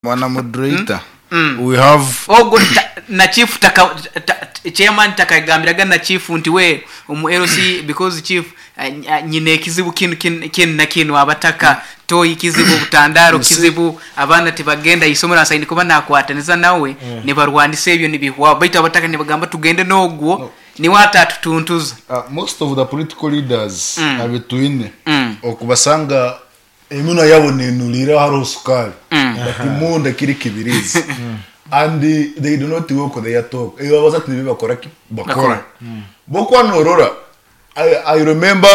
Bwana moderator, we have. Ogwo ta, na chief taka, ta, chairman takagambiraga na chief nti we omu LC because chief nyine ekizibu kinu kinu kinu na kinu abataka toyi kizibu obutandaro You see, kizibu abaana tibagenda isomero asaine kuba nakwataniza nawe nibarwanisa ebyo nibihwaho baitu abataka nibagamba tugende nogwo no, niwe atatutuntuza. Most of the political leaders abitwine okubasanga Eminwa yabo nenuriira hariho sukaari but munda kiri kibirizi and they do not walk their talk. Ebi babaza tibyo bakora ki? Bakora. Bo kuba norora I, I remember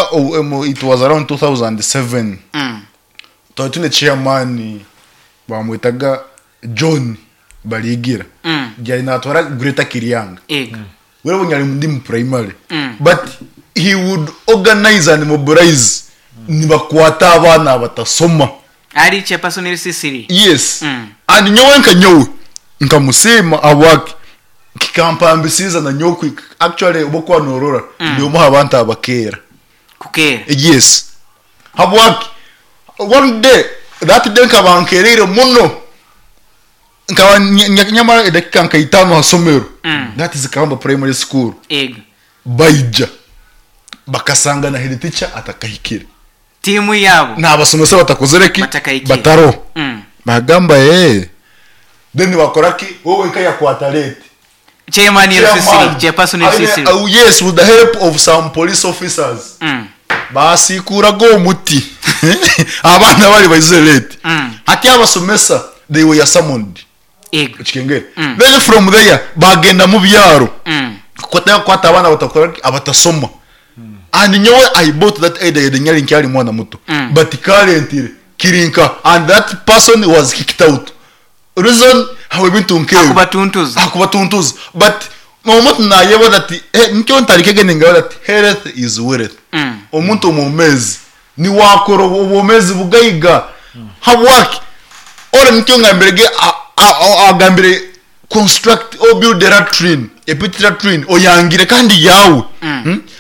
it was around 2007 twari twine chairman bamwetaga John Barigira yari natwara Greater Kiryanga. Ego. Wewe nyari ndi mu primary but he would organize and mobilize nibakwata abaana batasoma. Ari chairperson LC3. Yes. And nyowe nka nyowe nkamusiima ahabwaki kikampambisiza na nyowe kuhika actually obu okuba norora ndi omwe aha bantu abakeera. Kukeera. Yes. Habwaki one day that day nkaba nkereire muno Nkaba nyamara edakika nka itano ha somero, that is Kabamba Primary School, Ego. baija bakasanga na head teacher atakahikire. Tiimu yaabo. N'abasomesa batakozire ki? Batakahikire. Bataroho. Bagamba ee. Then bakora ki? We wenka yakwata late. Chairman LC3, Chairman. chairperson Aine, LC3. yes, with the help of some police officers. Baasiikuuraga omuti abaana bari baizire late. Hati abasomesa they were summoned. Ego. Okikengere? Then from there bagenda mu byaro kukwata kukwata abaana batakora ki? Abatasoma. And nyowe I bought that idea yade nyari nkyari mwana muto. But currently kiri nka and that person was kicked out. Reason habw'ebintu nk'ebyo. Akubatuntuza. Akubatuntuza. But omuntu nayebaza ati eh, nikyo ntarikege ningabaza ati health is wealth. Omuntu omwomezi niwakora obwomezi bugaiga. Habwaki? Ore nikyo ngambirege agambire construct or build a latrine, a pit latrine oyangire kandi yawe.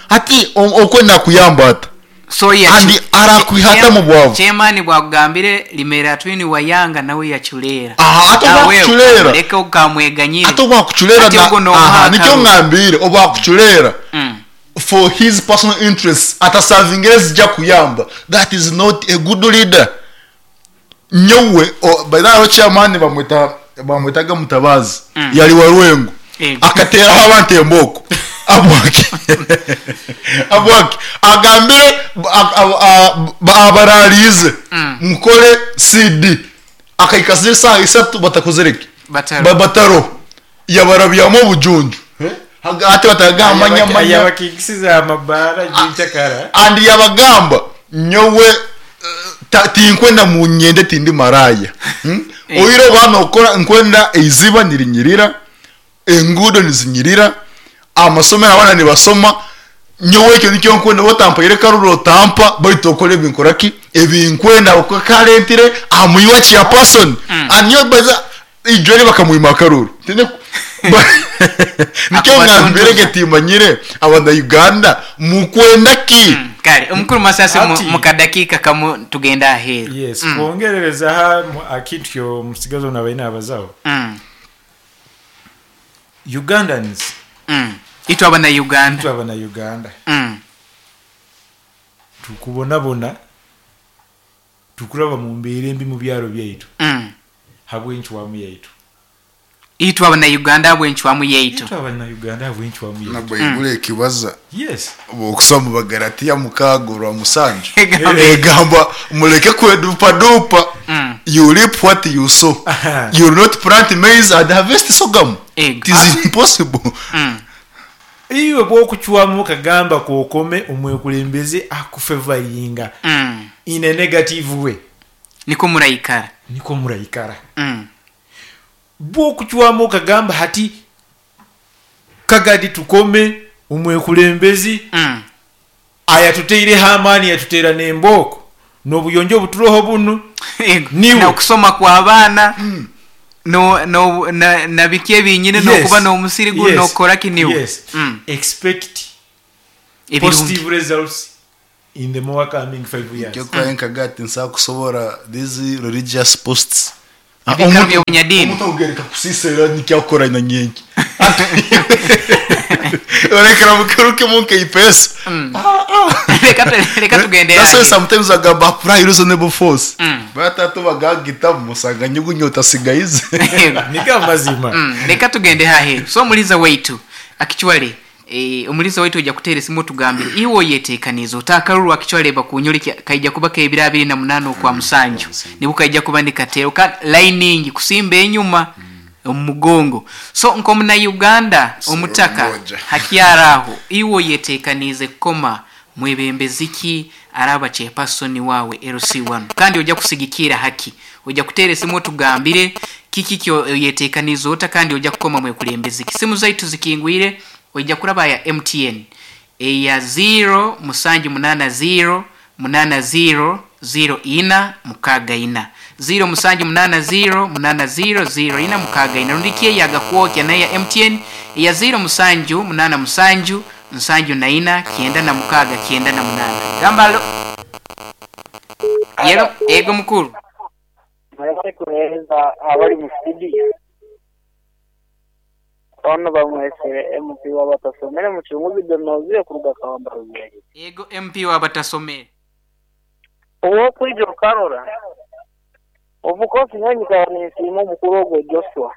Hati okwenda kuyamba ata? So yacu And arakwiha ata mu bwavu? Chairman bwakugambire limera twini wayanga nawe yacureera. Aha, ate Nawe obwakucureera. okamureka okamweganyire. Ate obwakucureera Ati na ogwo nomuha aha nikyo akaruru. ngambire obwakucureera for his personal interests atasavingire ezija kuyamba that is not a good leader. Nyowe by the way chairman bamweta bamwetaga Mutabazi yari wa Rwengo Ego. akateraho abantu embooko abwaki abwaki agambire abarariize mukore CD akahika z'esaaha isatu batakozire ki Bataro. bataro yabarabyamu obujunju hati batagamba nyamanya Yabakikisiza amabaara gyenkyakara and yabagamba nyowe tinkwenda munyende tindi maraya. Oire oba nokora nkwenda eiziba nirinyirira enguudo nizinyirira amasomero abaana nibasoma nyowe ekyo nikyo nkwenda otampaire karuru otampa baitu okore ebinkora ki ebinkwenda ahabw'okuba karentire amuyiwa chairperson and nyowe baza ijweri bakamwima akaruru Tine nikyo Akubatuntuza. ngambire ge timanyire abana Uganda mukwenda ki? Kare omukuru Masasi Ati- mu kadakiika kamu tugende aheeru. Yes, kwongerereza aha akintu kyomusigazi onu abaire nabazaho. Ugandans. Itwe abana Uganda. Itwe abana Uganda. Tukubonabona tukuraba mu mbeera embi mu byaro byaitu. Habw'encwamu yaitu. Itwe abana Uganda habw'encwamu yaitu. Itwe abana Uganda habw'encwamu Na yaitu. Baibuli ekibaza. Yes. Okusoma Bagalatiya mukaaga orwa mushanju Egamba. egamba mureke kwedupadupa you reap what you sow. You will not plant maize and harvest sorghum. Ego. It is impossible. Iwe bw'okucwamu okagamba kwokome omwekulembeze akufevaringa in a negative way. Nikwo muraikara. Nikwo muraikara. Bw'okucwamu okagamba hati kagadi tukome omwekulembezi ayatuteireho amaani yatuteera n'embooko n'obuyonjo obuturoho bunu Ego. niwe. N'okusoma kw'abaana no no na, na biki ebinyine Yes. n'okuba n'omusiri gunu Yes. n'okukora ki niwe. Yes. Expect Ebirungi. positive results in the more coming 5 years. Nikyo kwaye nkaga ati nsakusobora these religious posts. Ebiikaro by'obunyadiini. Omuntu akugereka kusiisa era nikyo akukora na nyenki. Orekera mukerukemu nk'eipeesa. Reka tu- reka tugende That's why haahi. sometimes agamba apply reasonable force. Batatu bagagitamu osanga nyugunya otasigaize. Nigo amazima. Reka tugende haaheru. So omuliza waitu actually eh, omuliza waitu oija kuteera esimu otugambire iwe oyeteekaniize ota akaruru actually bakunyoreka kaija kuba k'ebiro 28 okwa musanju nibwo kaija kuba nikateerwa kandi lining kusimba enyuma omu mugongo. So nk'omunauganda omutaka Moja. hakyaro aho iwe oyeteekaniize kukoma mwebembezi ki araba chairperson wawe LC1 kandi ojja kusigikira haki ojja kuteera esimu otugambire kiki kyo oyeteekaniize ota kandi ojja kukoma mwekulembezi ki. Simu zaitu zikingwire, ojja kuraba ya MTN eya 0 musanju munana 0 munana 0 0 ina mukaga ina 0 musanju munana 0 munana 0 0 ina mukaga ina rundi ki eyagakwokya nayo ya MTN eya 0 musanju munana musanju nsanju na ina 96 98. Gamba alo. Yego, ego mukuru. Mwebale kuheereza abali mu studio. Ono bamwesere MP w'abatasomere Mucunguzi Donozio kuruga Kawamba Rubyagira. Ego MP w'abatasomere. Ow'okwija okarora obukosi nyowe nyikara ninsiima omukuru ogwo Joshua.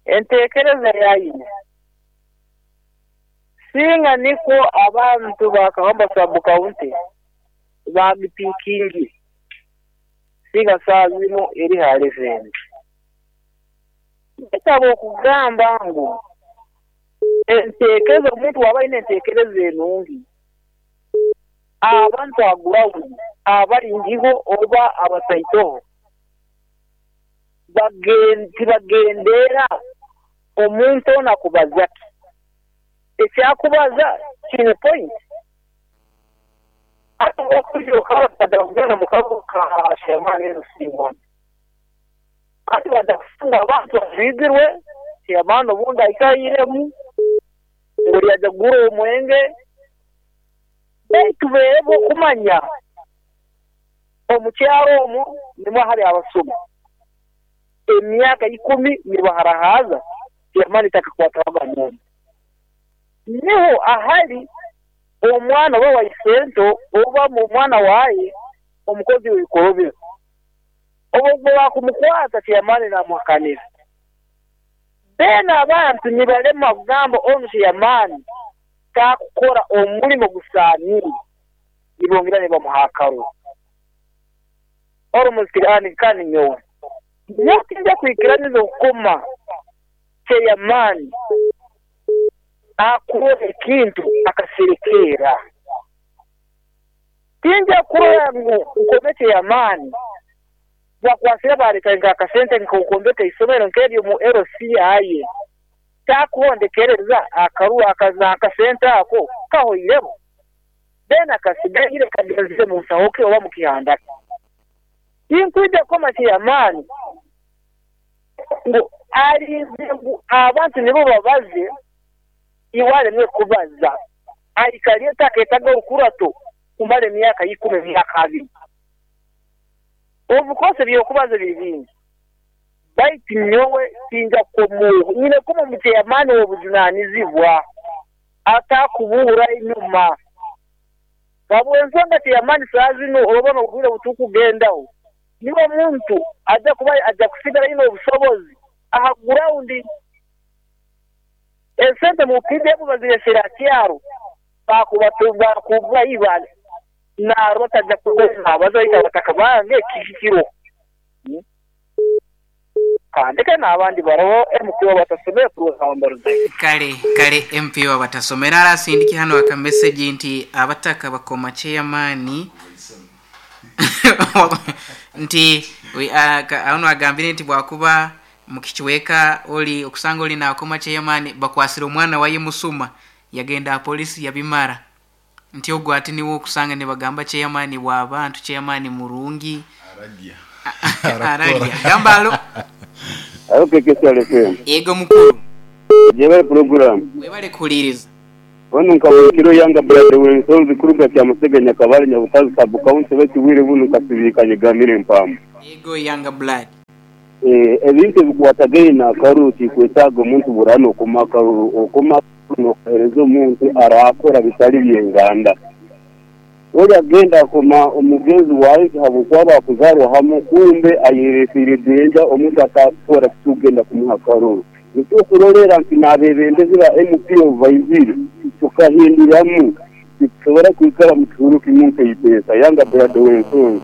Enteekereza yaine singa nikwo abantu ba Kawamba sub county bagipikingi singa saa zinu eri hali zindi. Ndetaba okugamba ngu enteekereza omuntu waba aine enteekereza enungi abantu agurawundi abaringiho oba abataitoho tibagendera omuntu ono akubaza ki ekyakubaza kine point ate okujuka mu kabuga ka Chairman LC1 ati badakufunga abantu bajwigirwe Chairman obundi aikairemu ngu yaja kugura omwenge baitu beebo okumanya omukyaro omwo nimwo hari abasuma emyaka 10 nibaharahaza Chairman takakwataga muntu niho ahari omwana oba waisento oba omwana waye omukozi w'ibikorobero obwo bakumukwata Chairman namuhakanira. Then abantu nibalema kugamba onu Chairman takukora omurimo gusanire nibongera nibamuhakaro orumuzikirani kandi nyowe nyotinja kwikiraniza okukoma Chairman akora ekintu akaserekera. Tinja kurora ngu nkome Chairman bakwasira bareka nka akasente nkokombeka isomero nkeryo mu LC aye takuhondekereza akaruwa akaza akasente ako kahoiremo then akasigaire kageze mu nsaho ke oba mu kihanda. Tinkwija koma Chairman ngu arinze ngu abantu nibo babaze iwale mwe kubaza aikaliye taketaga orukurato kumara emyaka 10 emyaka 20. Obukose byokubaza biri bingi baitu nyowe tinja komuhu nyine kuma mu Chairman obujunanizibwa atakubura enyuma babwensonga Chairman saa zino obona obwire butukugendaho niwe muntu aja kuba aja kusigara ino obusobozi aha ground esente mu PDF baziresera kyaro bakubatumba kuba ibale naro tajja kuba bazaita batakabange kikiro kandika n'abandi baraho MP batasomera kuruhamba. Kale kale MP batasomera arasindiki hano aka message nti abataka bakoma Chairman nti ano agambire nti bwakuba mukichweka oli okusanga oli nakoma Chairman bakwasira omwana waye musuma yagenda polisi yabimara nti ogwo ati niwo okusanga ne bagamba Chairman wa abantu Chairman murungi Ararya. Ararya. Gamba alo. Alo KKCR FM. Ego mukuru. Jebale program. Webale kuliriza. Onu Nkabukiro Younger Brother w'ensonzi kuruga Kyamusega Nyakabale Nyabutazi Sub County baitu obwire bunu nkasibiikanye Gamira Empamba. Ego Younger Blood. Ebintu ebikwatagaine n'akaruru tikwetaaga omuntu buri n'okoma akaruru. Okoma akaruru n'okaheereza omuntu araakora bitari by'enganda. Ori agenda akoma omugenzi waawe nti habw'okuba baakuzaarwa hamwe kumbe ayereeteire danger omuntu ataakukora tikugenda kumuha akaruru. Nikyo okurorera nti n'abeebembezi ba MP obu baizire tukahinduramu titusobora kwikara mu kihuru kimu nk'eiteesa. Younger Blood ow'ensonzi.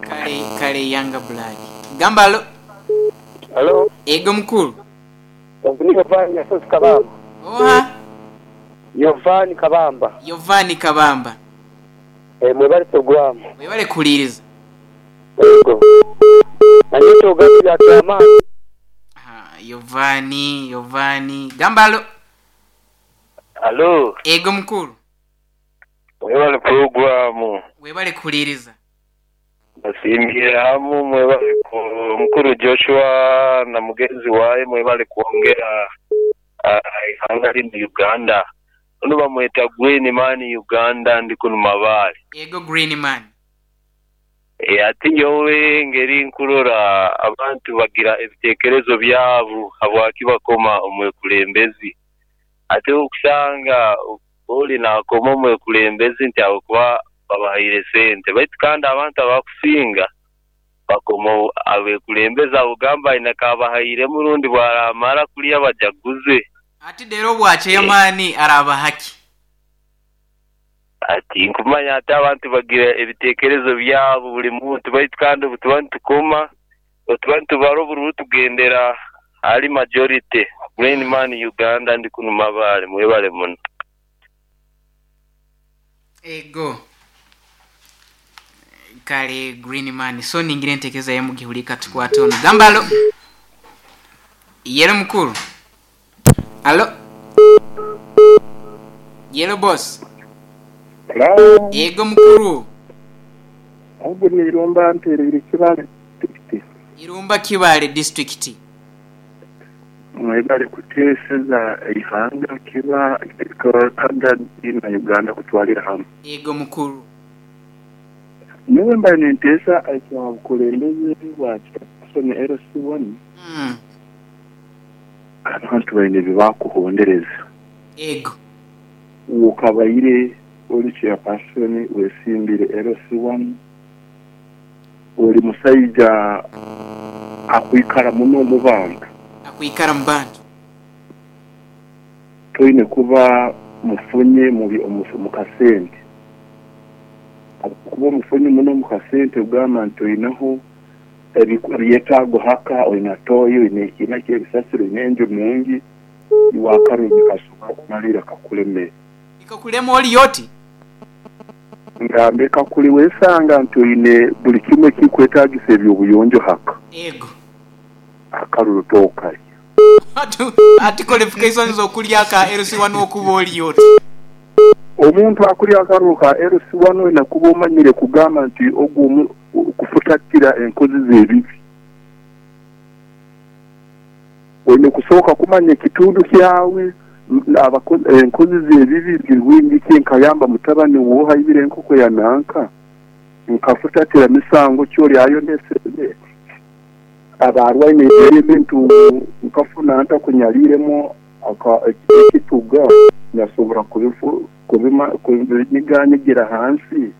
Kale kale Younger Blood. Gamba alo. Halo. Ego mukulu. Ogu ni Yovani Nyasozi Kabamba. Oha? Yovani Kabamba. Yovani Kabamba. Eh, mwebale puroguramu. Webale kuhuliriza. Ego. Nanye ekyogamba bya kyamaani. Aha, Yovani, Yovani. Gamba alo. Alo. Ego mukulu. Mwebale puroguramu. Webale kuhuliriza. Mbasiimiire hamu mwebale ku mukuru Joshua na mugenzi waye mwebale kwongera eihanga linu Uganda. Onu bamweta Green Man Uganda ndi kunu Mabaale. Ego Green Man. Eeh ati nyowe engeri nkurora abantu bagira ebitekerezo byabu habwaki bakoma omwekulembezi. Ati okusanga oli nakoma omwekulembezi nti ahabw'okuba babahaire sente baitu kandi abantu abakusinga bakoma abekulembezi abugamba aine akabahairemu rundi bwaramara kulya bajaguze. Ati dheero obwa chairman araabaha ki? Ati nkumanya ati abantu bagira ebitekerezo byabo buli muntu baitu kandi obutuba nitukoma, obutuba nitubara obururu tugendera ahari majority. Green man Uganda ndi kunu Mabaale mwebale muno. Ego kale Green man so ningira entekereza ye mugihulire katukwate ono. Gamba alo. Yelo mukulu. Alo. Yelo boss. Hello. Ego mukulu. Ogu ni Irumba mpereire Kibaale district. Irumba Kibaale district. Mwebale kuteeseza eihanga kiba na Uganda kutwalira hamu. Ego mukulu. Nyowe mbaire ninteesa ekya bukulembeze bwa Chairperson LC1. Abantu baine ebibakuhondereza. Ego. Wokabaire ori Chairperson wesimbire LC1 ori musaija akwikara muno omu bantu. Akwikara mu bantu. Toine kuba mufunye omu kasente. Ahabw'okuba omufunye muno omu kasente kugamba nti oineho ebyetaago haka, oine tooyi, oine ekiina ky'ebisasiro, oine enju nungi, iwe akaruru nikasobora kumalirra kakulemere. Nikakulema ori oti? Ngambe kakuli wesanga nti oine buli kimwe ekirikwetagisa eby'obuyonjo haka. Ego. Akaruru tokalya. Ati qualifications okulya aka LC wanu okuba ori oti? Omuntu akulya akaruru ka LC wanu oine kuba omanyire kugamba nti ogu kufutatira enkozi z'ebibi. Oine kusooka kumanya ekitundu kyawe, enkozi z'ebibi ziri bwingi ki, nkayamba mutabani w'oha aibire enkoko ya nanka, nkafutatira misango ki ori ayoneseze, abaarwaine ebintu nkafuna nta kunyariiremu ekituga nyasobora kubinyiganyigira ahansi.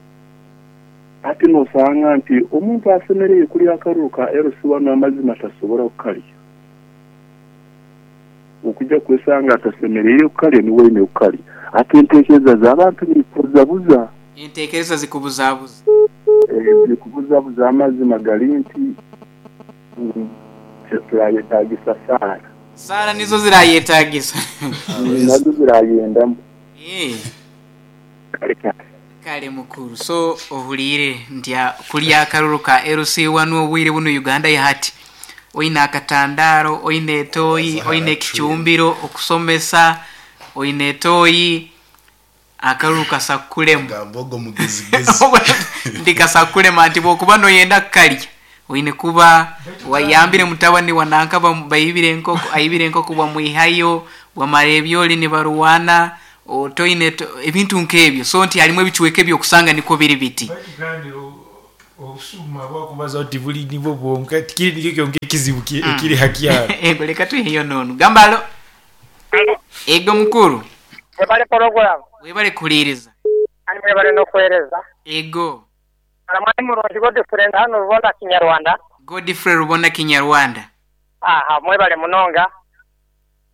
Hati nosanga nti omuntu asemereire kulya akaruru ka LC wanu amazima tasobora kukalya. Okuja kwesanga atasemereire kukalya niwe oine kukalya. Hati entekereza z'abantu nikubuzabuza. Entekereza zikubuzabuza. Zikubuzabuza amazima gari nti turayetagisa saara. Saara nizo zirayetagisa. Nazo zirayendamu. Kale kale. Kale mukuru. So ohuliire nti kulya akaruru ka LC wanu obwire bunu Uganda yahati. Oine akatandaaro, oine etooyi, oine ekicumbiro, okusomesa, oine etooyi, akaruru kasa kukulema. Gamba ogwo mugezigezi. Nti kasa kukulema nti bwokuba noyenda kukalya oine kuba wayambire mutabani wa nanka baibire enkoko, aibire enkoko bwamwihayo, bwamara ebyoli nibarwana. Toine ebintu nk'ebyo so nti harimu ebicweka ebyokusanga nikwo biri biti. Baitu kandi obusuma bwakubazaho tibuli nibwo bwonka, tikiri nikyo kyonka ekizibu ekiri ha kyaro. Ego leka twiheyo n'onu. Gamba halo. Ego mukuru. Webale poroguramu. Webale kuhuliiriza. Kandi mwebale n'okuheereza. Ego. Mwami murungi Godfrey ndi hanu Rubona Kinyarwanda. Godfrey Rubona Kinyarwanda. Aha mwebale munonga.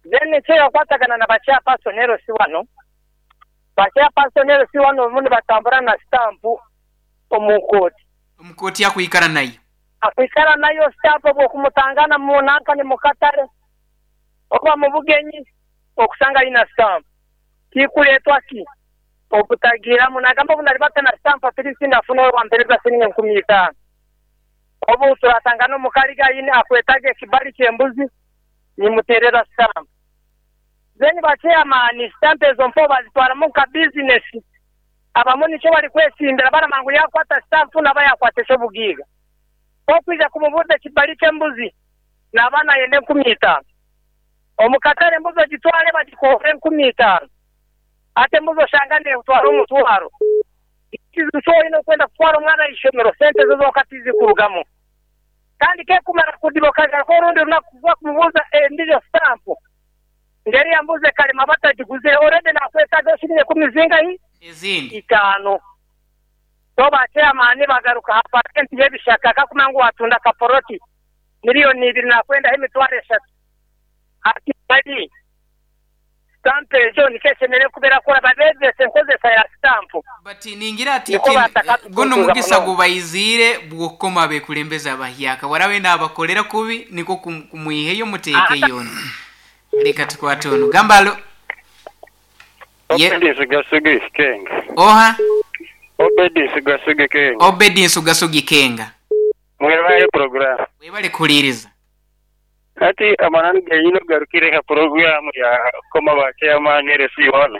Then ekirakwatagana na ba chairperson LC wanu, ba chairperson LC wanu obumu nibatambura na stamp omu kooti. Omu kooti akwikara nayo. Akwikara nayo stamp obwo okumutangana mu nanka ni mukatare oba mubugenyi okusanga ayina stamp. Kikuletwa ki? Obutagiramu nagamba obu naribata na stamp at least ndafuna owampereza siringi 5000. Obu turatangana omu kariga aine akwetaga ekibari ky'embuzi nimuterera stamp. Then ba chairman stamp ezo mpaho bazitwaramu nka business. Abamwe nikyo bari kwesimbira baramanya ngu yakwata stamp naba yakwata eky'obugaiga. Ku okwija kumubuuza ekibari ky'embuzi naba nayenda 5000. Omu katare embuzi ogitware bagikuhore 5000. Hati embuzi oshanga neetwara omutwaro. Ekizibu ki oine okwenda kutwara omwana aha ishomero sente ezo zonka tizikurugamu. Kandi kekumara kudiba okagaruka orundi runaku kuza kumubuuza endijo sitampu ngu eriya mbuzi ekarema batagiguzire already nakwetaaga shilingi ekumi zingahi? Ezindi. Itaano. So ba chairman bagaruka aha percent y'ebishaka kakumanya ngu watunda akapoloti miliyoni ibiri nakwendaho emitwaro eshatu. Hati bari. Sitampu egyo nikyo eshemereire kuba erakora, babeegyese enkozesa ya sitampu. But ningira ati Nikwo guno batakatutuntuza omugisa munonga. gubaiziire bw'okukoma abekulembeze abahyaka. Warabe nabakolera kubi nikwo kumwiheyo muteekeyo ondi. Leka tukwate onu. Gamba alo. Ye. Obedi Nsuga-Sugi Kenga. Oha? Obedi Nsuga-Sugi Kenga. Obedi Nsuga-Sugi Kenga. Mwebale puroguramu. Webale kuhuliiriza. Hati amananu genyini ogarukire ha puroguramu ya kukoma ba chairman LC wanu.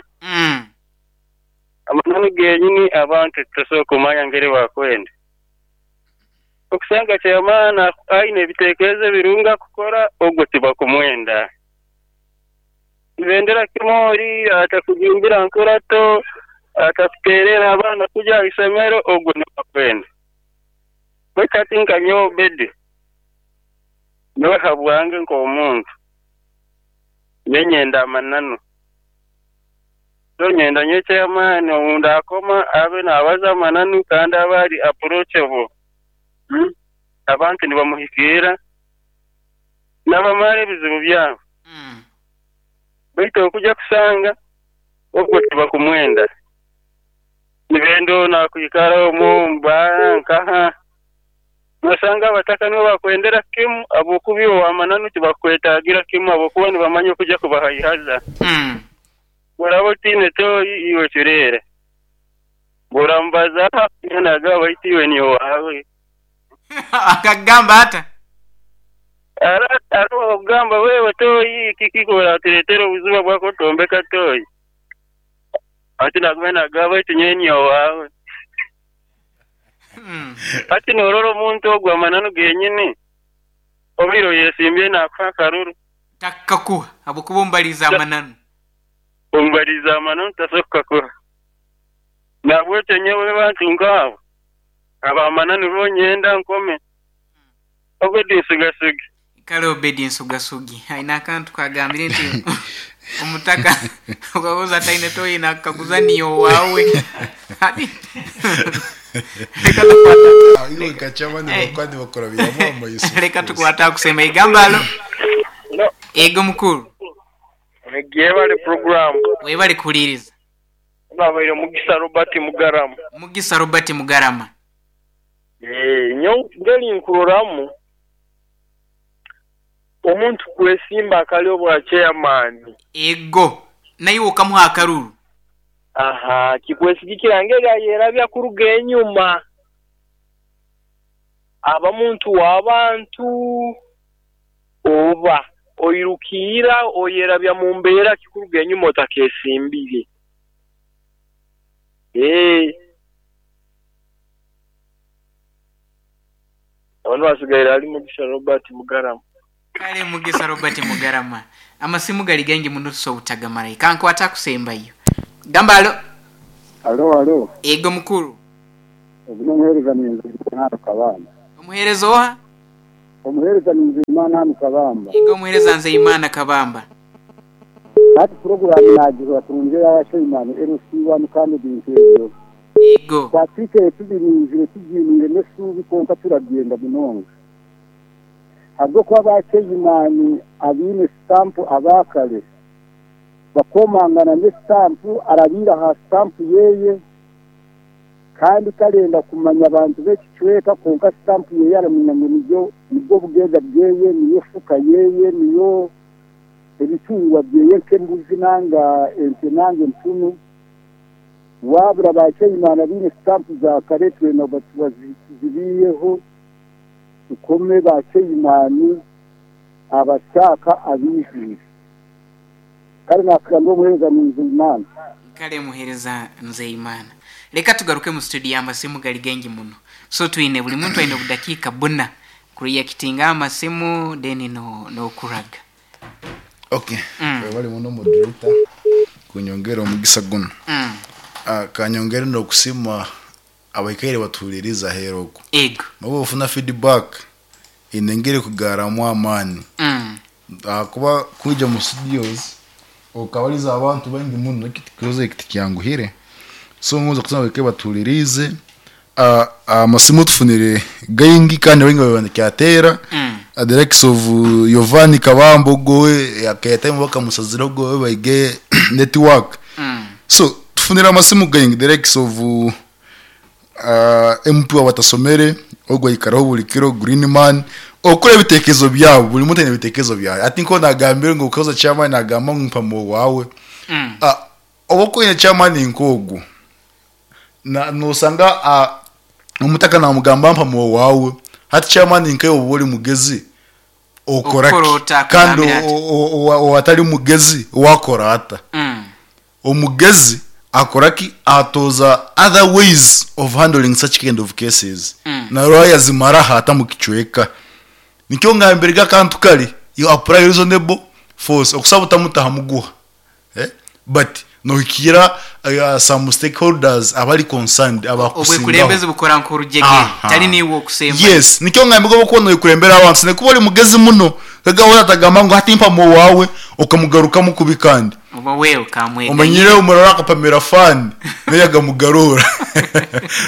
Amananu genyini abantu titusobola kumanya ngeri bakwenda. Okusanga chairman aine ebitekerezo ebirungi akukora ogwo tibakumwenda. Nibendera kimwe ori atakujumbira nkurato, atakuterera abaana kuja aha isomero ogwo niwe bakwenda. Baitu hati nka nyowe Obedi, nyowe habwange nk'omuntu, nyowe nyenda amananu. So nyenda nyowe chairman ou ndakoma abe nabaza amananu kandi abe ari approachable. Abantu nibamuhikiira nabamara ebizibu byabo. Baitu okuja kusanga ogwo tibakumwenda. Nibenda onu akwikara omu omu baara nkaha. Nosanga abataka nibo bakwendera kimu ahabw'okuba iwe ow'amananu tibakukwetaagira kimu ahabw'okuba nibamanya okuja kubahaihaza. Bw'oraba otaine tooyi iwe ocureere. Bw'oramubazaaho akumanya naagamba baitu iwe niiwe owaawe. Akakugamba ata? Hariho okugamba wewe tooyi kiki oratureetera obuzibu ahabw'okuba otombeka tooyi. Hati naaguma naagamba baitu nyowe niiwe owaawe. Hati noorora omuntu ogwo amananu genyini, obaire oyesimbyeyo naakuha akaruru. Takakakuha ahabw'okuba omubariize amananu. Omubariize amananu tasobola kukakuha. Nahabwekyo nyowe abantu nk'abo ab'amananu bo nyenda nkome. Obedi Nsugasugi. Kale Obedi Nsugasugi aine akantu kagambire nti omutaka okaguza taine toyi nakukaguza niiwe owaawe. Hati leka tukwate Ah, iwe nka chairman bakuba nibakurabiramu amaiso. Leka tukwate akusemba igamba alo. Ego mukuru. Yebale puroguramu. Webale kuhuliriza. Nabaire Mugisa Robert Mugarama. Mugisa Robert Mugarama. Nyowe ngeri nkuroramu, omuntu kwesimba akali obwa chairman. Ego, naiwe okamuha akaruru. Aha, kikwesigikira ngeri ayerabya kuruga enyuma. Aba muntu wa bantu oba oirukiira oyerabya mu mbeera ki kuruga enyuma otakesimbire. Eeh. Abandi basigaire ali Mugisha Robert Mugarama. Kale Mugisa Robert Mugarama. Amasimu gali gaingi muno tusobola obutagamarayo. Kankwate akusembayo. Gamba alo. Alo alo. Yego mukulu. Ogu n'omuheereza Ninzeyimana Kabamba. Omuheereza oha? Omuheereza Ninzeyimana hanu Kabamba. Yego omuheereza Nzeyimana Kabamba. Hati puroguraamu naagihurira kurungi eya Sheimani LC wanu kandi ebintu ebyo Yego. Twatwikaire tubirinzire tubyiniire n'eshuubi kwonka turabyenda munonga ahabw'okuba ba Sheimani abaine sitampu aba kare bakomangana n'esitampu arabiire aha sitampu yeye Kandi tarenda kumanya bantu b'ekicweka, kwonka sitampu yeye aramanya ngu nibyo nibwo bugaiga bweye, niyo fuka yeye, niyo ebitungwa byeye nk'embuzi nanga ente nanga empunu. Waabura ba Chairman abaine sitampu za kare twena tuzibiiheho tukome ba Chairman abasyaka abaijwire. Kare naakira ndi omuheereza Nzeyimana. Kale muheereza Nzeyimana. Leka tugaruke mu studio amasimu gali gaingi muno. So twine buli muntu aine obudakiika buna kureactinga aha masimu then no nokuraga. Okay, webale muno moderator kunyongera omugisa gunu. Kanyongere nokusiima abaikaire batuhuririize aheeru okwo. Ego. Nobu ofuna feedback eine engeri ekugarramu amaani. Ahakuba kwija omu studios okabariza abantu baingi muno ekibazo eki tikyanguhire. So ngonza kusaba abaikaire batuhuririize, amasimu tufunire gaingi kandi baingi babaire nikyatera, the likes of Yovani Kabamba ogwo we airtime bakamusazira ogwo we baige network. So tufunire amasimu gaingi the likes of MP wabatasomere ogwo aikaraho buri kiro green man okukora ebitekerezo byabo buri muntu aine ebitekerezo byawe ati nko nagambire ngu okaza chairman nagamba ngu mpa wawe oba oine chairman nk'ogwo nosanga omutaka namugamba mpa wawe hati chairman nkawe oba ori mugezi okora ki kandi owatari mugezi wakora ata Omugezi akora ki? Atooza other ways of handling such kind of cases naroha yazimara aha ata mukicweka. Nikyo ngambire ge akantu kari you apply reasonable force okusaba otamutaha muguha eh but nohikira some stakeholders abari concerned abakusingaho. Obwekulembezi bukora nk'orujegere tari niiwe okusembayo. Yes nikyo ngambire obu okuba noyekulembera abantu osine kuba ori mugezi muno Kagabo atagamba ngu hati mpamu owaawe okamugarukamu kubi kandi. Oba we okamweganyira. Omanyire omurara akapamira fan nayo yagamugarura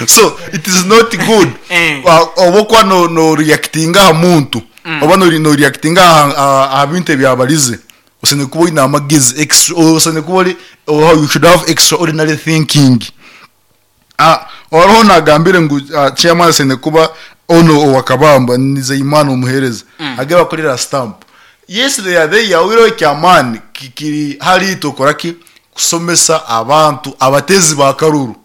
so it is not good oba okuba no reactinga aha muntu oba no reactinga aha bintu ebyabarize osine kuba oyine amagezi osine kuba ori you should have extraordinary thinking. Hariho nagambire ngu chairman asaine kuba onu owa Kabamba Nizeyimana omuhereza age bakorera stamp yes they are there oihireho ekyamani kiri hariitwe okoraki kusomesa abantu abatezi ba karuru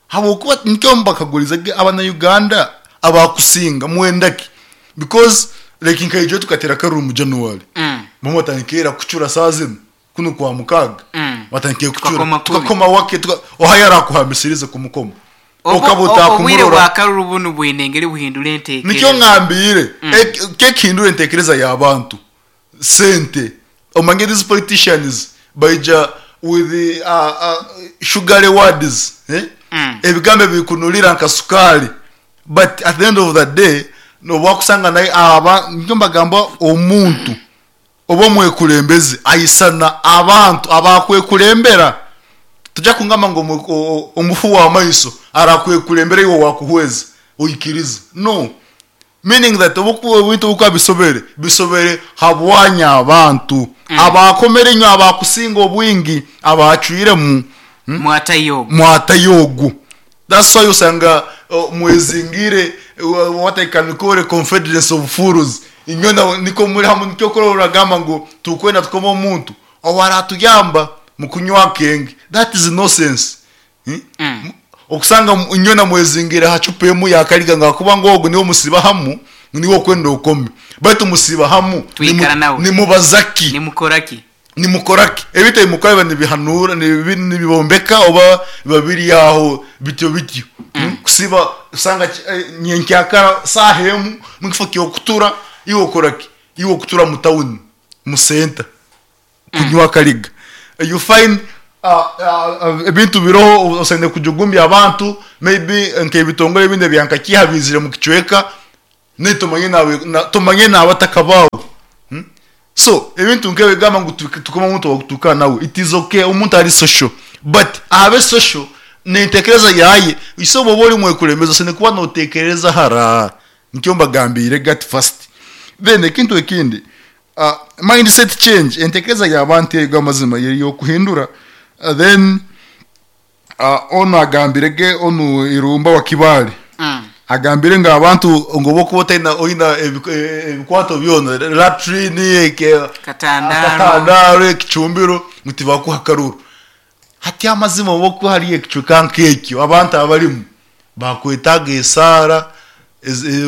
habwokuba nikyo mbakagurize ge abana Uganda abakusinga mwendaki because like nkaija tukatera akaruru mu January bamwe batandikira kucura saha zinu Kunu kwa mukaaga batandikire kucura Tukakoma kubi. tukakoma wake tuka oha yarakuhamisirize kumukoma Obu- okaba o- obwire otakumurora bwa karuru bunu bwine engeri buhindura nikyo entekereza. ngambiire kekihindura entekereza y'abantu sente omanye these politicians baija with the, sugary words eh? Ebigambo ebikunurira nka sukari but at the end of the day nobu wakusanga naye aba nikyo mbagamba omuntu Oba omwekulembeze aisana abantu abakwekulembera. Toja kungamba ngu omufu wa maiso arakwekulembera iwe owakuhweza oikirize. No. Meaning that obu ebintu obukuba bisobere, bisobere habwanyu abantu abakomere inywe abakusinga obwingi abacwiremu. Mwatayo ogu. Mwatayo ogu. That's why osanga mwezingiire what I can call a confederacy of fools. Inywena nikwo muri hamwe nikyo orikureeba oragamba ngu turikwenda tukome omuntu owaratuyamba mukunywa akenge. That is nonsense. Okusanga inywena mwezingiire aha cupa emwe ya kariga ngu ahakuba ngu ogu niwe musiiba hamu ngu niwe orikwenda okome. Baitu musiiba hamu Twikara nawe. nimubaza ki? Nimukora ki? Nimukora ki? Ebintu ebi mukora biba nibihanuura, nibibombeka oba biba biri aho bityo bityo? Kusiiba osanga nyenkyakara saaha emu mukifo ky'okutura iwe okora ki? Iwe okutura mu tawuni, mu senta kunywa akariga. You find Ebintu biroho osaine kujugumbya abantu maybe nk'ebitongore ebindi ebya nka kiiha biizire mu kicweka naitwe tumanye nawe tumanye n'abataka baawe. So ebintu nk'ebyo gamba ngu tukome omuntu ow'okutuuka nawe it is okay omuntu ari social but abe social n'entekereza yaaye ise obu oba ori mwekurembezi osaine kuba nootekereza hara nikyo mbagambiire gati first then ekintu ekindi Mindset change, entekereza y'abantu eyo amazima eri y'okuhindura. Then onu agambire ge onu Irumba wa Kibaale agambire ngu abantu ngu obu okuba otaina oina ebikwato byona latrine, akatandaaro, ekicumbiro ngu tibakuha akaruru. Hati amazima obu okuba hariyo ekicweka nk'ekyo abantu abarimu bakwetaaga esaara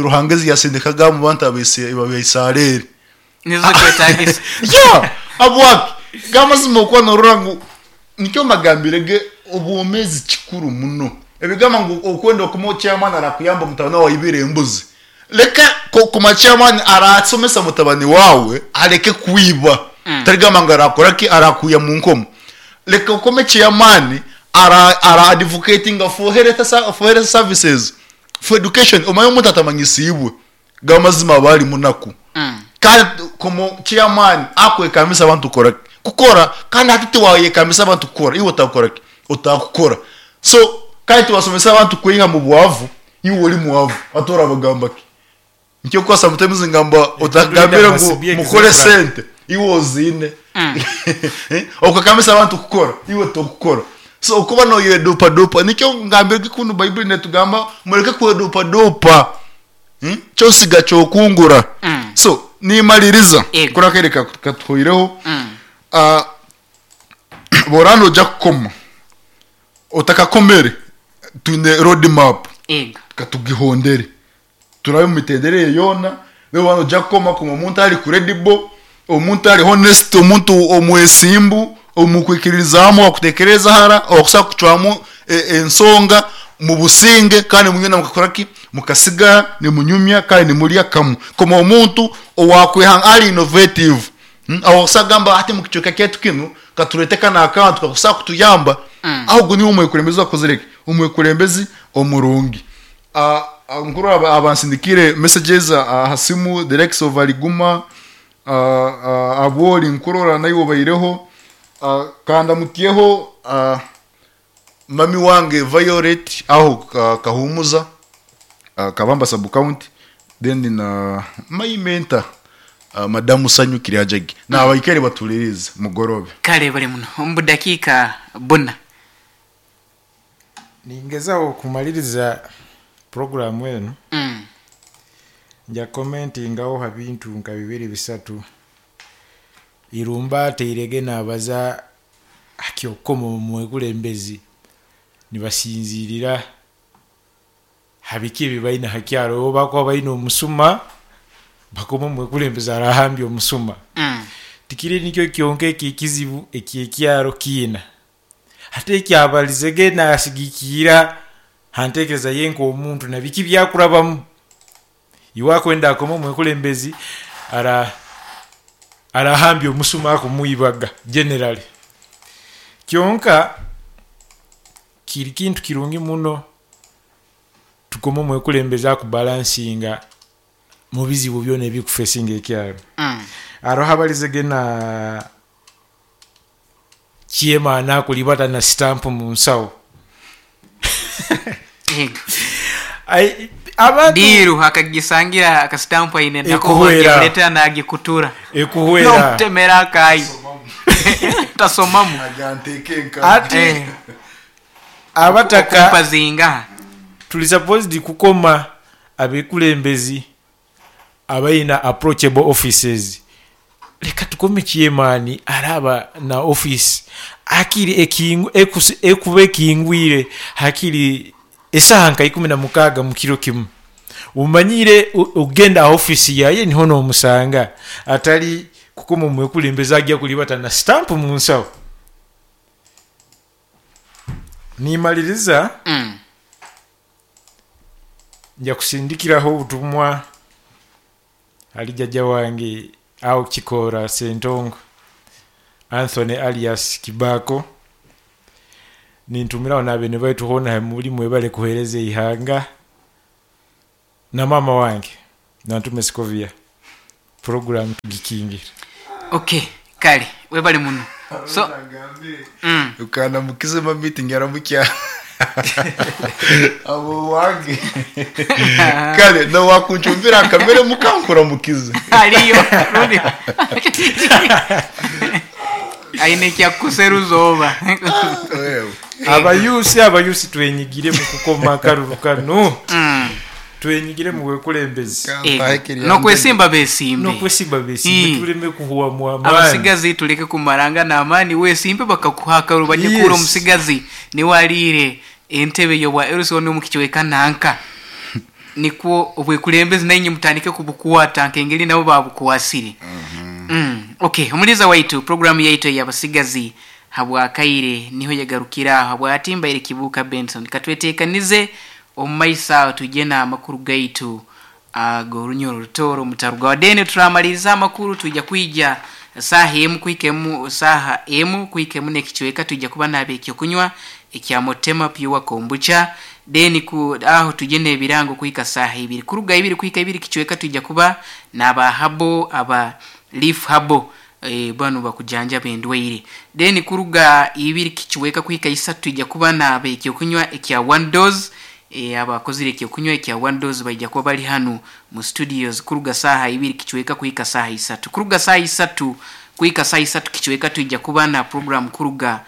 Ruhanga ezi yasindikaga omu bantu Abaisareri. Nizo zikwetagisa. Yeah! Habwaki? G'amazima okuba norora ngu nikyo mbagambire ge obwomezi kikuru muno. Ebigamba ngu okwenda okuma chairman arakuyamba mutabani wawe aibire embuzi. Leka kuma chairman arasomesa mutabani wawe aleke kwiba. Tarigamba ngu arakora ki? Arakwiha mu nkomo. Leka okome chairman ara ara advocatinga for health for health services, for education. Omanye omuntu atamanyisiibwe G'amazima aba ari munaku. Kandi komo chairman akwekambisa abantu kukora ki? Kukora. Kandi hati tiwayekambisa abantu kukora, iwe otakukora ki? Otakukora. So kandi tiwasomesa abantu kweyiha mu bwavu, iwe ori mwavu. Hati orabagamba ki? Nikyo kuba sometimes ngamba otakugambire ngu mukore sente, iwe oziine. Okakambisa abantu kukora, iwe tokukora. So okuba noyedupadupa, nikyo ngambire kunu Baibuli netugamba mureke kwedupadupa. Kyosiga kyokungura. So nimaliriza Yego. kuri akaire katuhweireho. Bworaba noija kukoma otakakomere twine road map Yego. katugihondere turabe omu mitendera eyo yoona then waaba noija kukoma koma omuntu ari credible, omuntu ari honest, omuntu omwesimbu, omukwikiririzaamu owakutekereza hara, owakusobola kucwamu ensonga mubusinge kandi mwena mukakora ki? Mukasigara nimunyumya kandi nimurya kamwe. Koma omuntu owakweha ari innovative, owakusobola kugamba hati omu kicweka kyaitu kinu katureete kanu akantu kakusobola kutuyamba, ogu niwe omwekurembezi owakozire ki? Omwekurembezi omurungi. Nkurora abansindikiire messages aha simu the likes of Aliguma, Abwori nkurora naiwe obaireho, kandamukyeho mami wange Violet aho Kahumuza, Kabamba sub county, then na my mentor Madamu Sanyu Kiryajagi nabaikaire batulirize mugorobe. Kale bari muno omu budakiika buna. Ningezaho kumaliriza puroguramu enu, nja kukomentingaho ha bintu nka bibiri bisatu. Irumba atairege nabaza ha ky'okukoma omwekulembezi nibasinziirira ha biki ebi baine ha kyaro. Obu bakuba baine omusuma, bakoma omwekulembezi arahambya omusuma. Tikiri nikyo kyonka eky'ekizibu eky'ekyaro kiina. Hati ekyabalizege nasigikiira ha ntekereza ye nk'omuntu na biki byakurabamu. Iwe akwenda akome omwekulembezi ara arahambya omusuma akumwibaga generally. Kyonka kiri kintu kirungi muno tukome omwekulembezi akubalansinga mu bizibu byona ebikufesinga ekyaro. Haroho abalizege na Chairman akulibata na stamp mu nsawo. Ai, abantu Diiru akagisangira akasitampu aine nako Ekuhwera. agimuletera nagikutura. Ekuhwera. Nomutemera akayi. Tasomamu. Ati abataka Okumpa zingaha. Tuli supposed kukoma abekulembezi abaina approachable offices. Leka tukome chairman araba na office hakiri ekuba ekingwire hakiri esaaha nka ikumi na mukaaga mukiro kimu. Omanyire ogenda aha office yaye niho nomusanga atari kukoma omwekulembeze agya kulibata na stamp munsawo. Nimaliriza. Nja kusindikiraho obutumwa ahari jajja wange aho Kikoora Ssentongo Anthony alias Kibaako. Nintumiraho n'abeene baitu hoona ahi muri mwebale kuheereza eihanga. Na maama wange Nantume Scovia. Puroguraamu tugikingire. Ok kale webale muno so mm. Ukanamukize ma meeting aramukya abo wange kale nowakuncumbira akamere mukankuramukize Aliyo rundi aine ekyakukuseruza oba. Abayuusi abayuusi twenyigire mu kukoma akaruru kano. Twenyigire mu bwekulembeze. N'okwesimba besimbe. N'okwesimba besimbe tuleme kuhwamu amaani. Abasigazi tuleke kumarangana amaani. Wesimbe bakakuha akaruru baje kuhurira omusigazi niwe ariire entebe y'obwa LC onu omu kicweka nanka. Nikwo obwekulembeze nainye mutandike kubukwata nk'engeri nabo baabukwasire. Ok, omuliiza waitu, puroguraamu yaitu ey'abasigazi habw'akaire niho yagarukira aho. Habwati mbaire Kibuuka Benson. Katweteekanize omu maiso aho twije n'amakuru gaitu ag'orunyoro orutooro mutarugaho. Then turamaliriza amakuru twija kwija saaha emu kuhika emu saaha emu kuhika emu n'ekicweka twija kuba n'ab'ekyokunywa ekya Motema Pure Kombucha. Then ku aho twije n'ebirango kuhika saaha ibiri. Kuruga ibiri kuhika ibiri kicweka twija kuba n'aba Habo aba Leaf Habo banu bakujanjaba endwaire. Then kuruga ibiri kicweka kuhika isatu twija kuba n'ab'ekyokunywa ekya One Dose. Abakozire ekyokunywa ekya One Dose baija kuba bali hanu mu studios kuruga saaha ibiri kicweka kuhika saaha isatu. Kuruga saaha isatu kuhika saaha isatu kicweka twija kuba na program kuruga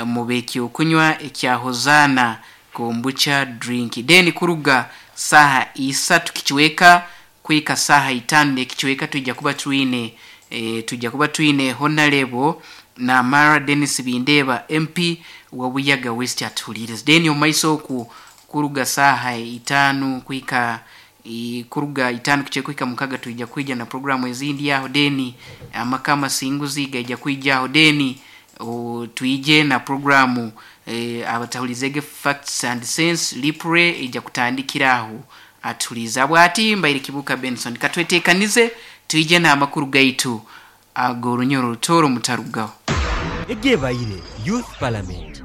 mu b'ekyokunywa ekya Hosanna Kombucha Drink. Then kuruga saaha isatu kicweka kuhika saaha itaanu n'ekicweka twija kuba twine twija kuba twine Honarebo Namara Denis Bindeeba MP wa Buyaga West atuhuriirize. Then omu maiso okwo kuruga saaha itaanu kuhika kuruga itaanu kicweka kuhika mukaga twija kwija na puroguraamu ezindi aho then amaka amasinguzi gaija kwija aho then twije na puroguraamu abatahurizege Facts and Sense Replay eija kutandikira aho atuhuriize. Habwati mbaire Kibuuka Benson. Katweteekanize twije n'amakuru gaitu ag'orunyoro orutooro mutarugaho. Egebaire Youth Parliament.